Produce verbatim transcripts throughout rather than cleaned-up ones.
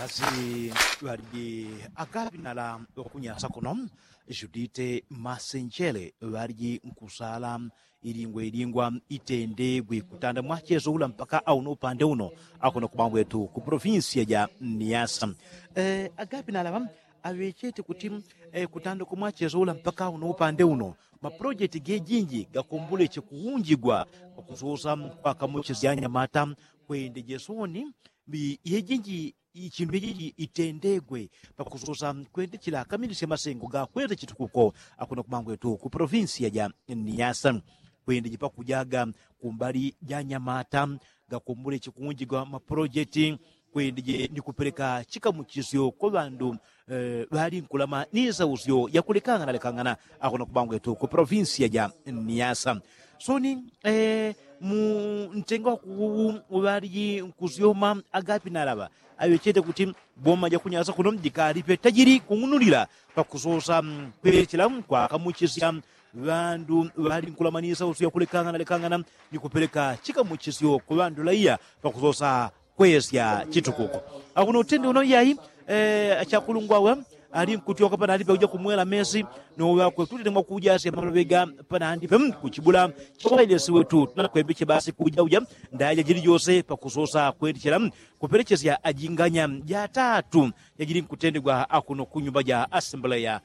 Asi ŵaliji akapinala ŵakunyasa kuno judite masenjele ŵaliji nkusala ilingwa ilingwa itendegwe kutanda mwacheso ula mpaka auno upande uno akuno kubambwetu ku polofinsiya ja niyasa. Agapinala ŵa aŵechete kuti kutanda kumwacheso ula mpaka auno upande uno mapolojeti gejinji gakomboleche kuunjigwa pakusosa kwakamuchisya anyamata kwende jesoni. Yejinji ichindu ijiji itendegwe pakusosa kwende chila kamilisya masengo gakwete chitukuko akuno kumangwetu ku polofinsiya ja niyasa. Kwende jipakujaga kumbali ja nyamata gakomboleche kuunjigwa mapolojeti kwendije ni kupeleka chikamuchisyo kwa ŵandu ŵali nkulama ni sausyo yakulekang'ana lekang'ana akuno kubangwetu ku polofinsiya ja niyasa. Soni mu ntenga wakuwu ŵaliji nkusyoma agapinala ŵa aŵechete kuti boma jakunyasa kuno jikalipe tajili kung'unulila pakusosa kwechela kwakamuchisya ŵandu ŵali nkulama ni sausyo yakulekang'ana lekang'ana ni kupeleka chikamuchisyo ku ŵandu laiya pakusosa kwesya chitukuko. Akuno utende uno iyai achakulungwa awe ali nkutyoka panandi pakuja kumwela mesi noŵakwe tutende mwakuja asya maloŵega panandi pe kuchibula chokwailesi wetu tunakwembeche basi kuja uja ndaya jajili jose pakusosa kwendechela kupelechesya ajinganya jatatu jajili nkutendegwa akuno kunyumba ja asembleya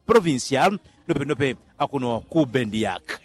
provincial nopenope akuno ku bendiak.